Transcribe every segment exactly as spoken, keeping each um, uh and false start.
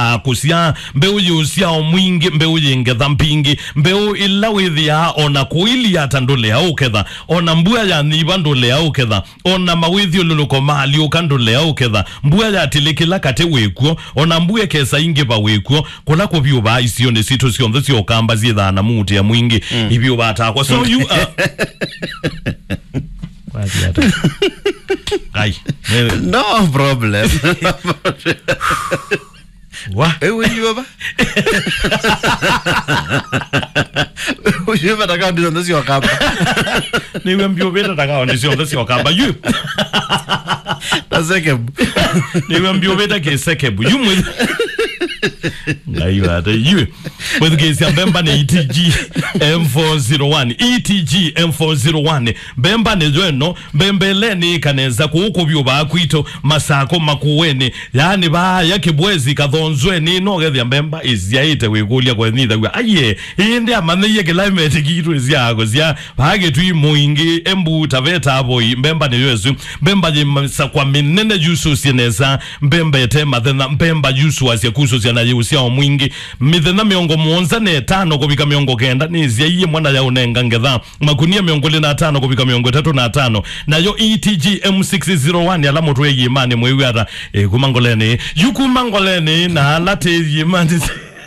ya kũsyaa, mbeũ yĩ ũsyao mwingĩ, mbeũ yĩ ngetha mbingĩ, mbeũ ĩla wĩthĩaa o na kũilia ata ndũlea ũketha, o na mbua yanyiva ndũlea ũketha, o na mawĩthyũlũlũko maalyũka ndũlea ũketha, mbua yatilĩkĩla katĩ wĩkw'o, o na mbua ĩkesa ingĩva wĩkw'o, kũla kũvyũvaa isionĩ sitũ syonthe sya Ũkamba syĩthaa na muutĩa mwingĩ, mm, ivyũvaa takwa. So you are Wathiĩ ata? Ai. No problem. Wa? Ewe, iwe ba? Uyu bata kaunti syonthe sya Ũkamba. Nĩw'o mbyũvĩte ta kaunti syonthe sya Ũkamba. Yu. Ta Sekebu. Nĩw'o mbyũvĩte kĩ Sekebu. Yu mwĩ-, Ngai wate. Yu. Mwĩthukĩĩsya, mbemba nĩ E T G M four zero one. E T G M four zero one. Mbemba nĩyo ĩno. Mbemba ĩla nĩ ĩkanesa kũu kũvyũvaa kwitũ, Masako, Makueni. Yaani vaaya Kĩbwezi, Kathonzweni, no ũkethĩa mbemba ĩsyaĩte wĩkũlya kwenyithaw'a. Aiye, ĩndĩ amanyĩie climate kitũ ĩsyaa kũsya. Vaa Kĩtui, Mwingi, Embu, Taveta, Voi, mbemba nĩyo ĩsu. Mbemba yĩ mĩsakwa mĩnene yusũsye nesa. Mbemba ĩte mathenya, mbemba yusũasya kusũsya na yĩ ũsyao mwingĩ. Mĩthenya mĩongo mũonza na ĩtano kũvika mĩongo kenda nĩsyaie mwana ya ũnenga ngetha. Makunia mĩongo ĩlĩ na atano kũvika mĩongo ĩtatũ na atano. Nayo E T G M six zero one, ala mũtwĩe iĩmanĩ mwĩw'a ata, ĩ, kuma Ngoleni. Yu kuma Ngoleni, na ala tĩ iĩmanĩ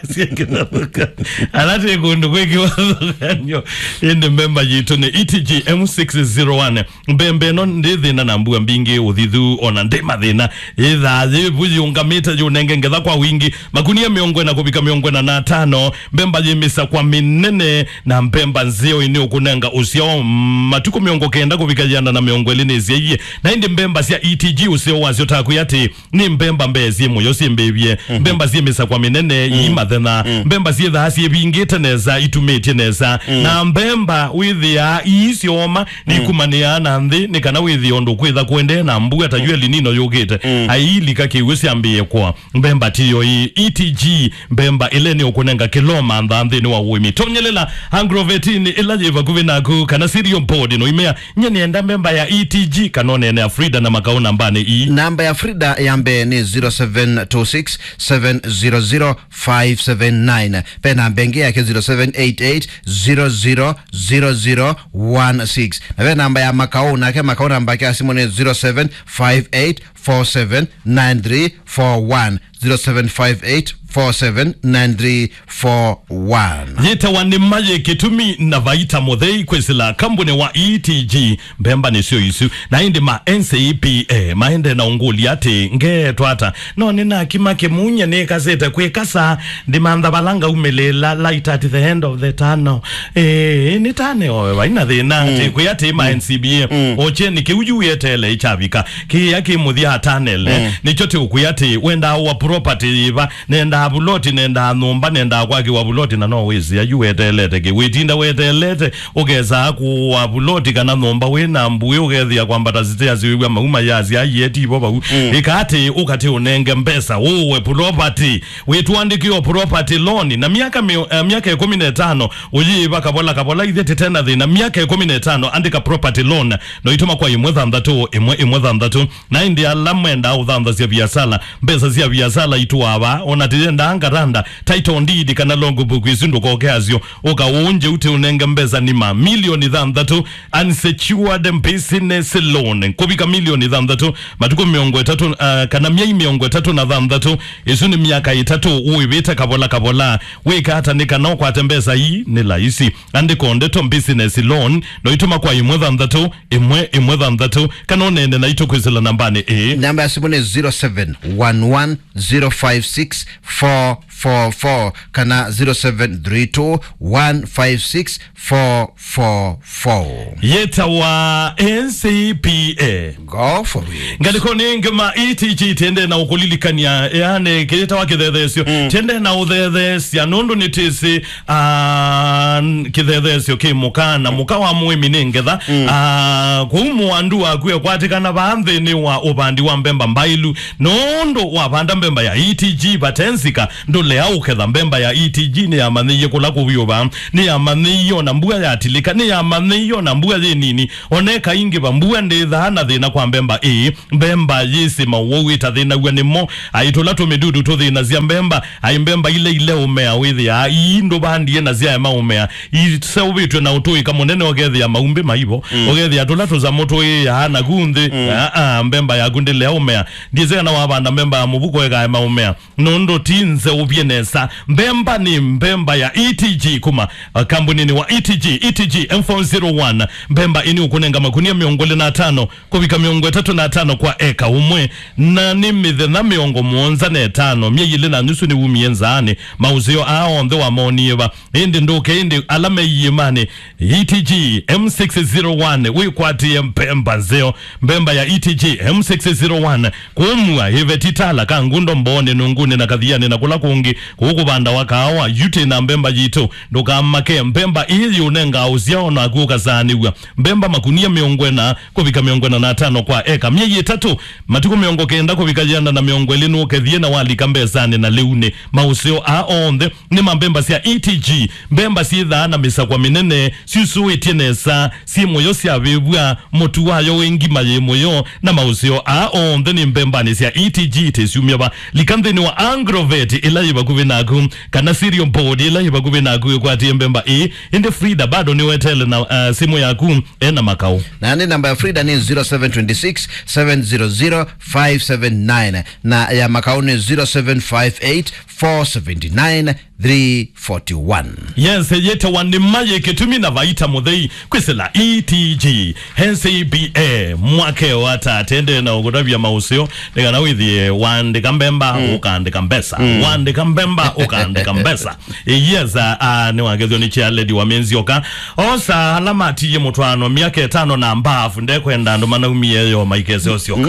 syĩ kĩthathũka. Ala tĩ kũndũ kwĩ kĩvathũkanyo. Ĩndĩ mbemba yitũ nĩ E T G M six zero one. Mbemba ĩno ndĩ thĩna na mbua mbingĩ, ũthithu, ona ndĩ mathĩna. Ĩthaa yĩvu yĩũngamĩte yũnenge ngetha kwa wingĩ. Makunia mĩongo ĩna kũvika mĩongo ĩna na atano. Mbemba yĩ mĩsakwa mĩnene na mbemba nzeo ĩnĩ ũkũnenga ũsyao matukũ mĩongo kenda kũvika ĩana na mĩongo ĩlĩ nĩsyaie. Na ĩndĩ mbemba sya E T G ũseo wasyo takwĩ atĩ nĩ mbemba mbee syĩ mũyo syĩmbĩvye. Mhm. Mbemba syĩ mĩsakwa mĩnene, mm, ii mathenya. Mm. Mbemba syĩthaa syĩvingĩte nesa, itumĩtye nesa. Mm. Na mbemba wĩthĩaa ii syoma, mm, nikumanĩaa na nthĩ, nĩ kana wĩthĩe ũndũ kwĩtha kũendee na mbua ta yu El Nino yũkĩte. Mm. Ailika kĩw'ũ syambĩĩe kũa. Mbemba tiyo ii, E T G, mbemba ĩla nĩ ũkũnenga kĩloma ntha nthĩnĩ wa ũĩmi. Tonyelela Agrovetini ĩla yĩ vakuvĩ naku, kana Cereal Board, no imea, "Nye nĩenda mbemba ya E T G," kana ũneene ya Frida na Makau nambanĩ ii. Namba ya Frida ya mbee nĩ zero seven two six seven zero zero five seven nine. Ve namba ĩngĩ yake zero seven eight eight zero zero zero zero one six. Na ve namba ya Makau, nake Makau namba yake ya simũ nĩ zero seven five eight four seven nine three four one, zero seven five eight four seven nine three four one. Yĩtawa nĩ mayĩ kĩtumi na vaita mũthei kwĩsĩla kambuni wa E T G, mbemba nĩsyo isu. Na ĩndĩ ma N C P A maende na ũngũlya atĩ, "Ngeetwa ata? No nĩnakima kĩmuny'a nĩkasĩte kwĩkasa, ndimantha vala ngaumĩlĩla, light at the end of the tunnel." Ĩĩ, nĩ tane owe, vaina thĩna, mm, atĩ kwĩ atĩ ma, mm, N C P A, mm, ocheni kĩu yu wĩteele ĩkyavika. Kĩĩa kĩ mũthya atanele, mm, nĩkyo tĩũkwĩa atĩ wendaa wa property yĩva, nendaa vuloti, nendaa nyũmba, nendaa kwakĩwa vuloti, na no wĩsĩ ayu weteelete kĩ, wĩtinda weteelete, ũkesaa kũwa vuloti kana nyũmba wĩ na mbuĩ, ũkethĩa kwambata stairs wĩw'a mauma yasya aiye tivo vau. Mm. Ĩka atĩ ũkatĩ ũnenge mbesa, ũwe property, wĩtũandĩkĩo property loan, na myaka mĩo-, eh, myaka ĩkũmi na ĩtano, ũyĩĩva kavola kavola, ithe tĩtena thĩna, myaka ĩkũmi na ĩtano, andĩka property loan, no itũma kwa ĩmwe thanthatũ, ĩmwe, ĩmwe thanthatũ. Na ĩndĩ ala mwendaa ũthanthasya viasala, mbesa sya viasala itũaa vaa, ona tĩyendaa ngaranda, title deed kana logbook isu ndũkoke asyo, ũka ũnje ũte ũnenge mbesa nima milioni thanthatũ, unsecured business loan, kũvika milioni thanthatũ, matukũ mĩongo ĩtatũ, ah, kana myei mĩongo ĩtatũ na thanthatũ, isu nĩ myaka ĩtatũ ũĩvĩte kavola kavola. Wĩka ata nĩ kana ũkwate mbesa ii? Nĩ laisi. Andĩka o ndeto business loan, no itũma kwa ĩmwe thanthatũ, ĩmwe, ĩmwe thanthatũ, kana ũneene naitũ kwĩsĩla nambanĩ ĩĩ. Namba ya simũ nĩ zero seven one one zero five six four four four kana zero seven three two one five six four four four. Yĩtawa N C P A. Go for it. Ngalĩkonĩ ĩngĩ ma E T G tĩendee na ũkũlilikany'a, yaani, kĩyĩtawa kĩthetheesyo. Mm. Tĩendee na ũthetheesya, nũndũ nĩtwĩsĩ, ah, kĩthetheesyo kĩ mũka, na mũka wa mũĩmi nĩ ngetha. Mm. Ah, kũu mũandu waku ekwatĩkana vaa nthĩnĩ wa ũvandi wa mbemba mbailu, nũndũ wavanda mbemba ya E T G vate nzika, ndũle ya ũketha. Mbemba ya E T G nĩyamanyĩie kũla kũvyũva, nĩyamanyĩie ona mbua yatilĩka, nĩyamanyĩie ona mbua yĩ nini. Ona ĩkaingĩva, mbua ndĩthaa na thĩna kwa mbemba ĩĩ. Mbemba yĩsĩ mawau ĩtathĩnaw'a nĩmo. Ai tũla tũmĩdudu tũthĩnasya mbemba. Ai mbemba ila ileũmea wĩthĩaa ii ndũvandie na syaema ũmea, iseũvĩtw'e na ũtũĩka mũnene, ũkethĩa maumbĩ maivo, ũkethĩa tũla tũsamũ tũĩaa naku nthĩ. Aa, mbemba yaku ndĩlea ũmea. Ndiĩsĩ kana wavanda mbemba ya mũvuko ĩkaema ũmea, nũndũ ti nzeũvye nesa. Mbemba nĩ mbemba ya E T G kuma, uh, kambunini wa E T G, E T G M four zero one. Mbemba ĩnĩ ũkũnenga makunia mĩongo ĩlĩ na atano kũvika mĩongo ĩtatũ na atano kwa eka ũmwe, na nĩ mĩthenya mĩongo mũonza na ĩtano, myei ĩlĩ na nusu nĩwumie nzaanĩ. Maũseo aa onthe wamonie va? Ĩndĩ ndũke, ĩndĩ ala me iĩmanĩ. E T G M six zero one, wĩkwatĩe mbemba nzeo. Mbemba ya E T G M six zero one, kũmua ĩveti tala ka ngundo mboonĩ, nũngũnĩ na kathianĩ na kũla kũngĩ kũũ kũvandawa kaawa. Yu twĩ na mbemba yitũ, ndũkamake, mbemba ĩĩ yĩũnengaa ũsyao naku ũkasaanĩw'a. Mbemba makunia mĩongo ĩna kũvika mĩongo ĩna na atano kwa eka, myei ĩtatũ, matukũ mĩongo kenda kũvika yĩana na mĩongo ĩlĩ nũkethie na walika mbesanĩ na lĩunĩ. Maũseo aa onthe nĩ ma mbemba sya E T G, mbemba syĩthaa na mĩsakwa mĩnene, syusũĩtye nesa, syĩ mũyo, syavĩvw'a, mũtu wayo wĩ ngima yĩ mũyo, na maũseo aa onthe nĩ mbembanĩ sya E T G. Tĩsyumya va? Lika nthĩnĩ wa Agrovet ĩla yĩ vakuvĩ naku, kana Cereal Board ĩla yĩ vakuvĩ naku ĩkwatĩe mbemba ĩĩ. Ĩndĩ Frida bado nĩwetele na, uh, simũ yaku ena makaũ. Na nĩ namba ya Frida nĩ zero seven twenty six, seven zero zero, five seven nine, na ya makaũ nĩ zero seven five eight, four seven nine, three forty one. Yes, yĩtawa nĩma yĩ kĩtumi na vaita mũthei kwĩsĩla E T G N C B A mwakeo ata atendee na ũkũtavya maũseo, nĩ kana wĩthĩe waandĩka mbemba, ũkaandĩka mbesa. Waandĩka mbemba, ũkaandĩka mbesa. Yes, ah, ah, nĩwakethyo nĩ chair lady wa Men's Yoka. Osa ala matiie mũtwaano myaka ĩtano na mbaafu, ndekwenda andũ manaumie yo maikese osyoka.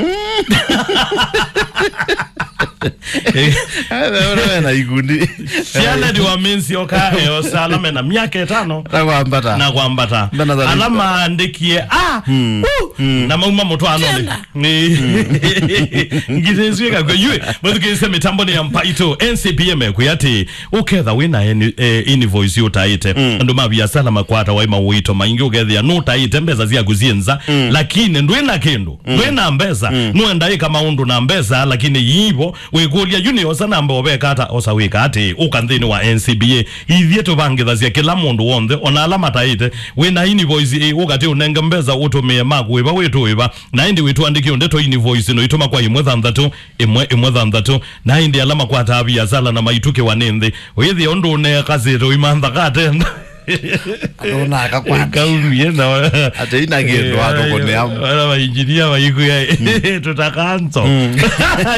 Awe na ikundi. Chair lady wa Men's Yoka, eh, osa ala mena myaka ĩtano na kwambata. Na kwambata. Mbena za ala maandĩkie, ah, uh, na mauma mũtwaanonĩ. Nĩ ngithe isu ĩkakw'a. Yu, mwĩthukĩĩsya mĩtambo nĩ ya Mbaitũ, N C B A mekwĩa atĩ, ũketha wĩ na eni-, eh, invoice ũtaĩte. Andũ ma viasala makwatawa nĩ mawĩto maingĩ, ũkethĩa nũtaĩte mbesa syaku syĩ nza, lakini ndwĩ na kĩndũ, ndwĩ na mbesa, nũenda ĩka maũndũ na mbesa, lakini yivo wĩkũlya, yu nĩ osa namba ũveka ata? Osa wĩka atĩ, ũka nthĩnĩ wa N C B A, ithyĩ tũvangĩthasya kĩla mũndũ w'onthe, ona ala mataĩte. Wĩ na invoice ĩ, ũkatĩ ũnenge mbesa ũtũmĩe maku ĩva wĩtũĩva. Na ĩndĩ wĩtũandĩkĩe ndeto invoice no itũma kwa ĩmwe thanthatũ, ĩmwe ĩmwe thanthatũ. Na ĩndĩ ala makwataa viasala na maitũkĩwa nĩ nthĩ, wĩthĩa ũndũ ũneekasĩte ũimantha katenda. Andũ nakakwata. Kaumie na atĩ ina kĩndũ, eh, atũkũnĩa. Ala mainjinia maikuya, tũtakanso.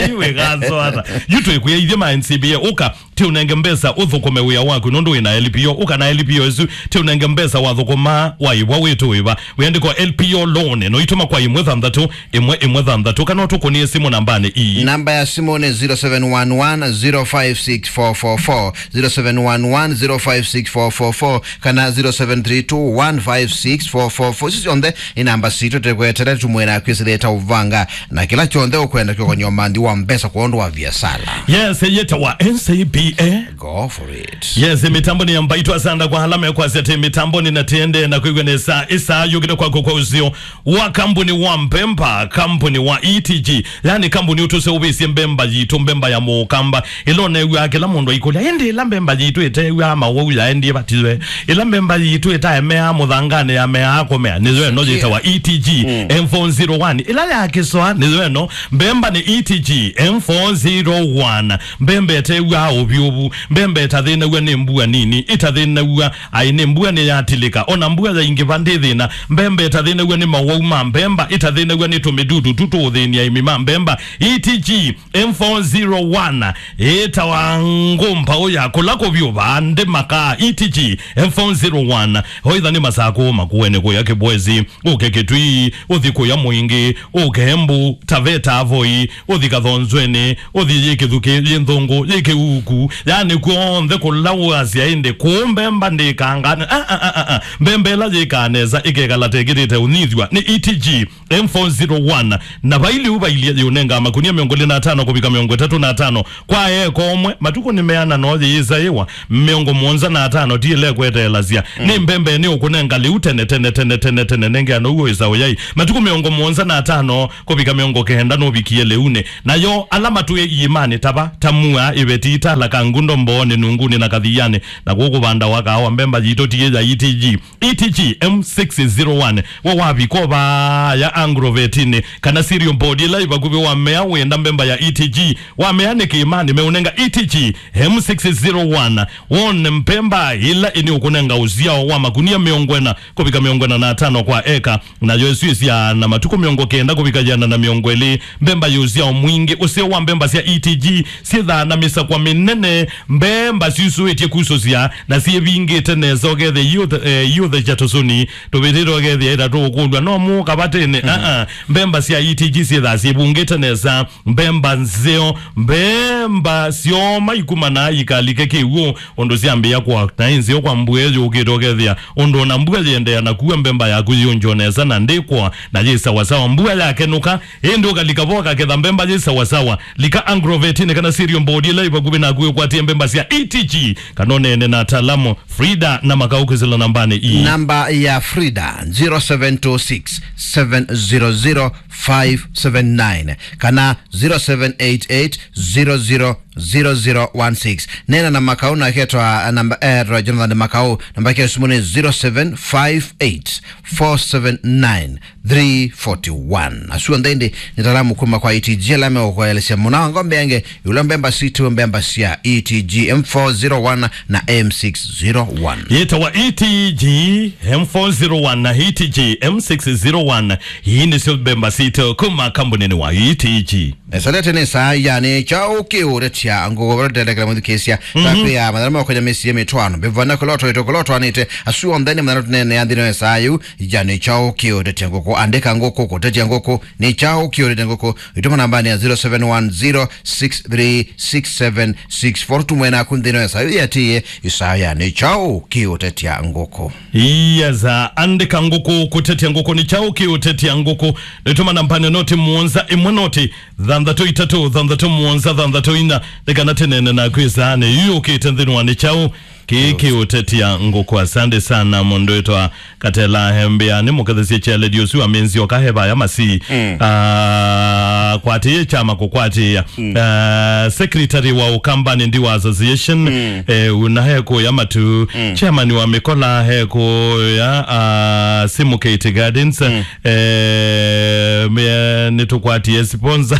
Yu wĩkanso ata? Yu twĩkwĩa ithyĩ ma N C B A, ũka, ti ũnenge mbesa ũthũkũme wĩa waku, nũndũ wĩ na L P O. Ũka na L P O ĩsu, ti ũnenge mbesa wathũkũma waĩvwa wĩtũĩva. Wĩandĩkwa L P O loan, no itũma kwa ĩmwe thanthatũ, ĩmwe ĩmwe thanthatũ, kana ũtũkũnĩe simũ nambanĩ ii. Namba ya simũ nĩ zero seven one one, zero five six four four four, zero seven one one, zero five six four four four, kana zero seven three two, one five six four four four. Isu syonthe nĩ namba sitũ tũkwetete, tũmwĩra kwĩsĩlĩte ũvanga na kĩla kyonthe ũkwenda kĩũkany'a ũmanthi wa mbesa kwa ũndũ wa viasala. Yes, yĩtawa N C B A. Go for it. Yes, mĩtambo nĩ ya Mbaitũ. Asanda kwa ala mekwasya atĩ mĩtambo nĩ na tĩende na kwĩw'a nesa. Ĩsaa yũkĩte kwako kwa ũseo wa kambuni wa mbemba, kambuni wa E T G, yani kambuni ũtũseũvĩsye mbemba yitũ, mbemba ya mũkamba. Ĩla ũnew'aa kĩla mũndũ aikũlya, ĩndĩ ĩla mbemba yitũ ĩtew'aa mawau yaendie vatiwe, ĩla mbemba yitũ ĩtaemeaa mũthanganĩ yameaa kũmea, nĩyo ĩno yĩtawa E T G M four zero one. Ĩla ya kĩsoa nĩyo ĩno. Mbemba nĩ E T G M four zero one. Mbemba ĩtew'aa ũvyũvu. Mbemba ĩtathĩnaw'a nĩ mbua nini, ĩtathĩnaw'a Ai, nĩ mbua nĩyatilĩka, ona mbua yaingĩva ndĩ thĩna. Mbemba ĩtathĩnaw'a nĩ mawau ma mbemba, ĩtathĩnaw'a nĩ tũmĩdudu tu tũũthĩnia aĩmi ma mbemba. E T G M four zero one ĩtawa ngũmbaũ ya kũla kũvyũ vandĩ makaa. E T G M four zero one, oitha nĩ Masakũ, Makueni kũya Kĩbwezi, ũke Kĩtui, ũthi kũya Mwingĩ, ũke Embu, Taveta, Voi, ũthi Kathonzweni, ũthi yĩ Kĩthukĩ, yĩ Nthũngũ, yĩ Kĩuku, Yani kw'onthe kũla ũasya ĩndĩ kũũ mbemba ndĩkangaa. Ah, ah, ah, ah, ah. Mbemba ĩla yĩkaa nesa ĩkekala tekĩtĩte ũnyithw'a nĩ E T G M four zero one. Na vai lĩu vailyĩ yĩũnengaa makunia mĩongo ĩlĩ na atano kũvika mĩongo ĩtatũ na atano kwa eka ũmwe. Matukũ nĩ meana no yĩĩsaĩwa mĩongo mũonza na atano ti ĩla ĩkweteelasya. Mm. Nĩ mbembe nĩ ũkũnenga lĩu tene, tene, tene, tene, tene, nengea now'o ĩsa ũyai. Matukũ mĩongo mũonza na atano kũvika mĩongo kenda nũvikie lĩunĩ. Nayo ala matwĩe iĩmanĩ ta va, ta mua, ĩveti, tala, kangundo, mboonĩ, nungunĩ na kathianĩ, na kũkũ vandawa kaawa, mbemba yitũ ti ya E T G. E T G M six zero one, wa wavika vaya agrovetinĩ kana cereal board ĩla ĩ vakuvĩ wa mea wĩenda mbemba ya E T G, wa mea nĩ kĩĩmanĩ, meũnenga E T G M six zero one, wone mbemba ĩla ĩnĩ ũkũnenga ũsyao wa makunia mĩongo ĩna kũvika mĩongo ĩna na atano kwa eka. Nayo ĩsu ĩsyaa na matukũ mĩongo kenda kũvika yĩana na mĩongo ĩlĩ. Mbemba yĩ ũsyao mwingĩ. Ũseo wa mbemba sya E T G syĩthaa na mĩsakwa mĩnene. Mbemba syusũĩtye kusũsya na syĩvingĩte nesa, ũkethĩa iũthe-, eh, iũthekya tũsũni tũvĩtĩte, ũkethĩa ĩtatũ ũkũlw'a no mũũ kavatĩnĩ. Mhm. Aa, mbemba sya E T G syĩthaa syĩvungĩte nesa. Mbemba nzeo, mbemba syoma ikumanaa ikalike kĩw'ũ, ũndũ syambĩĩa kũa na ĩ nzeo kwa mbua ĩyũkĩte, ũkethĩa ũndũ ona mbua yĩendeea na kua, mbemba yaku yĩũngywa nesa na ndĩkũa na yĩ sawasawa. Mbua yakenũka, ĩndĩ ũkalika vo ũkaketha mbemba yĩ sawasawa. Lika agrovetinĩ kana cereal board ĩla ĩ vakuvĩ naku ũkwatie mbemba sya E T G, kana ũneene na ataalamu. Frida na Makau kwĩsĩla nambanĩ ii. Namba ya Frida, zero seven two six, seven zero zero, five seven nine, kana zero seven eight eight, zero zero, zero zero one six. Neena na Makau na ketwa namba, eh, Jonathan Makau, namba yake ya simu nĩ zero seven five eight, four seven nine, three forty one. Asu onthe ĩndĩ nĩ ataalamu kuma kwa E T G ala meũkũelesya mũno ngombe yange, ĩũla mbemba sitũ, mbemba sya E T G M four zero one na M six zero one. Yĩtawa E T G M four zero one na E T G M six zero one. Ii nĩsyo mbemba sitũ kuma kambunĩnĩ wa E T G. Esalete nĩ saa yani kyaũ kĩũtetya ngũkũ vala tũtendekela mũthukĩĩsya. Mhm. Takwĩa mathana makonya mĩsyĩ mĩtwaano. Mbevana kũlotwa ito kũlotwanĩte. Asu onthe nĩ mathana tũneenea nthĩnĩ wa saa yĩu. Yani kyaũ kĩũtetya ngũkũ. Andĩka ngũkũ, kũtetya ngũkũ. Nĩ kyaũ kĩũtetya ngũkũ. Itũma nambanĩ ya zero seven one zero six three six seven six four. Tũmwe naku nthĩnĩ wa saa yĩu yatĩĩe. Ĩsaa yani kyaũ kĩũtetya ngũkũ. Yes, uh, andĩka ngũkũ, kũtetya ngũkũ nĩ kyaũ kĩũtetya ngũkũ. Nĩtũma nambanĩ noti mũonza ĩmwe noti thanthatũ itatũ thanthatũ mũonza thanthatũ ina, nĩ kana tũneene naku ĩsaanĩ yu yũkĩte nthĩnĩ wa nĩ kyaũ kĩĩ kĩũtetya ngũkũ. Asante sana mũndũ wĩtwa Katela Hembea, nĩ mũkethesye kya lady ũsu amĩnzi oka he vaya masi. Mm. Ah, kwatĩĩe kyama kũkwatĩĩa. Mm. Ah, secretary wa Ukambani Ndiwa Association, mm, eh, una he kũya matu. Mm. Chairman wa Mĩkola he kũya, ah, Simu Kate Gardens. Mm. Eh, me-, nĩtũkwatie sponsor.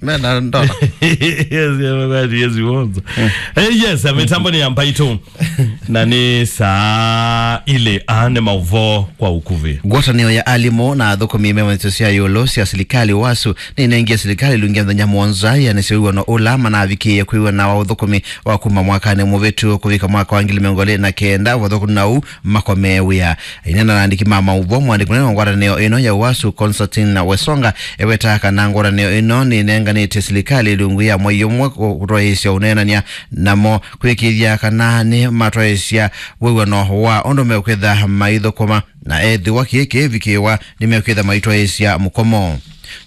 Mena ndola. Yes, yeah, mena yes, sponsor. Mm. Eh, yes, eh, mĩtambo nĩ ya Mbaitũ. Na nĩ saa ilĩ, aa nĩ maũvoo kwa ũkuvĩ. Ngwatanĩo ya alimũ na athũkũmi me mawĩtĩkĩsyo sya ĩũlũ sya silikalĩ, UASU, nĩnengie silikalĩ ilungu ya mĩthenya mũonza ĩanĩsye wĩw'ano ũla manavikĩĩe kwĩw'ana wa ũthũkũmi wa kuma mwakanĩ mũvĩtu kũvika mwaka wa ngili mĩongo ĩlĩ na kenda, ũvathũku na ũu makomee wĩa. Aineena na andĩki ma maũvoo, mwandĩki mũnene wa ngwatanĩo ĩno ya UASU, Constantine Wesonga, ewetaa kana ngwatanĩo ĩno nĩnenganĩte silikalĩ ilungu ya mwei ũmwe kũ-, kũtwaĩĩsya ũneenany'a namo, kwĩkĩĩthya kana nĩmatwaĩĩsya wĩw'ano wa ũndũ mekwĩtha maithũkũma, na ethĩwa kĩĩ kĩĩvikĩĩwa, nĩmekwĩtha maitwaĩĩsya mũkomo.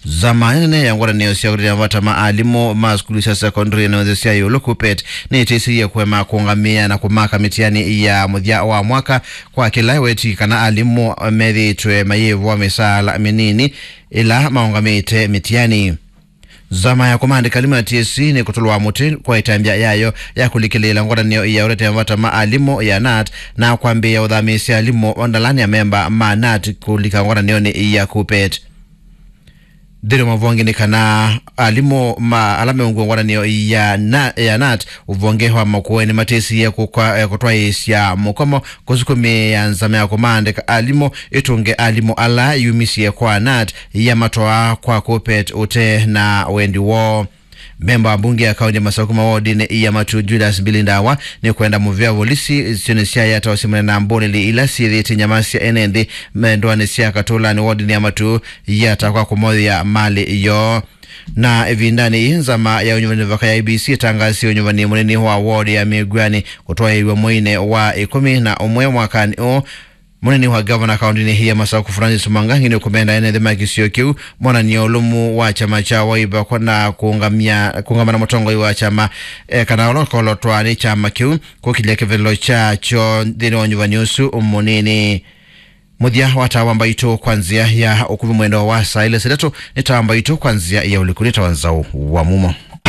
Nzama nene ya ngwatanĩo sya kũtetea mavata ma alimũ ma sukulu sya sekondari na nthĩ sya ĩũlũ, KUPPET, nĩtĩsĩie kũema kũũngamĩa na kũmaka mĩtiani ya mũthya wa mwaka kwa kĩla ĩweti kana alimũ methĩĩtwe mayĩvwa mĩsaala mĩnini ĩla maũngamĩte mĩtiani. Nzama ya kũmaandĩka alimũ ya T S C nĩkũtũlwa mũtĩ kwa ĩtambya yayo ya kũlikĩlĩĩla ngwatanĩo ya ũtetea mavata ma alimũ ya nat na kwambĩĩa ũthamĩĩsya alimũ ndalani amemba ma nat kũlika ngwatanĩonĩ ya KUPPET. Nthĩnĩ wa mavonge nĩ kana alimũ ma ala meũngw'a ngwatanĩo ya na-, ya nat ũvonge wa Makueni matĩsĩie kũkwa-, eh, kũtwaĩĩsya mũkomo kũsukumĩĩa nzama ya kũmaandĩka alimũ ĩtũnge alimũ ala yumisye kwa nat yamatwaa kwa KUPPET ũte na wendi woo. Memba wa mbunge ya kaunti ya Masaku mawodinĩ ya Matu, Julius Billy Ndawa, nĩkwenda mũvĩa volisi isionĩ sya Yatta ũsimane na mbũlĩli ila syĩthĩĩtye nyama sya ene nthĩ me ndũanĩ sya Katũlanĩ wodinĩ ya Matu Yatta kwa kũmoya malĩ yoo. Na ĩvindanĩ yĩĩ, nzama ya ũnyuvani mĩvaka ya I E B C ĩtangaasie ũnyuvani mũnini wa ward ya Mĩguanĩ kũtwaĩĩw'a mweinĩ wa ĩkũmi na ũmwe mwakanĩ ũũ. Mũnini wa ngavana kaũntĩnĩ ya Masaku, Francis Mwangangi, nĩũkũmenda ene nthĩ ma kĩsio kĩu monanie ũlũmu wa kyama kya Wiper na kũũngamia, kũũngama na mũtongoi wa kyama, eh, kana ũla ũkolotwa nĩ kyama kĩu kũkilya kĩvethelo kyakyo nthĩnĩ wa ũnyuvani ũsu mũnini. Mũthya wa taa wa mbaitũ kwa nzĩa ya ũkuvĩ mwendo wa saa ilĩ saa itatũ nĩ taa wa mbaitũ kwa nzĩa ya ũliku nĩ taa wa nzaũ wa mumo.